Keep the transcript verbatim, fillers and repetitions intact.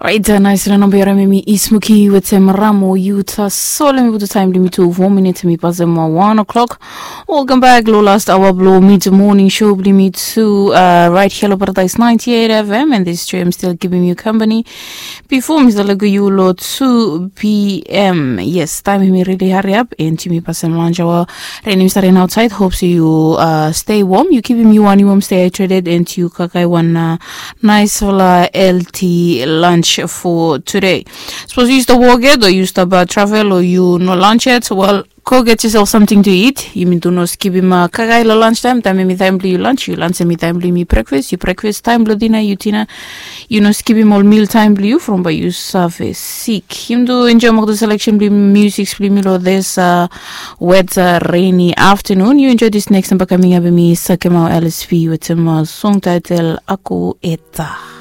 Rait, nais long namba yara memi ismuki wetem ramo yuta. So lemi putu taim blimi tu fo minit mi pasem wan o'clock. Welcome back lo last hour blo mid morning show blimi tu, uh, right here lo Paradise ninety-eight F M, and this stream still giving you company before Mr. Lagu Yulo two p.m. Yes, time hemi really hurry up and yumi pasem lunch hour. Rain hemi start outside. Hope so you, uh, stay warm, you keeping you one warm, stay hydrated, and you kakai one, uh, nice fala healthy lunch for today. Suppose you stop work yet, or you stop, uh, travel, or you no lunch yet, well, go get yourself something to eat. Yumi tu no skipim, uh, kakai lo lunch time. Time yumi time bli you lunch, you lunch yumi time bli mi breakfast, you breakfast time blo dinner, you dinner. You no skipim ol meal time bli you from ba you save sick. Yumi tu enjoy mokto selection bli music bli mi lo this, uh, wet, uh, rainy afternoon. You enjoy this next number coming up. Mi Sakemau L S P with him, uh, song title Aku Eta.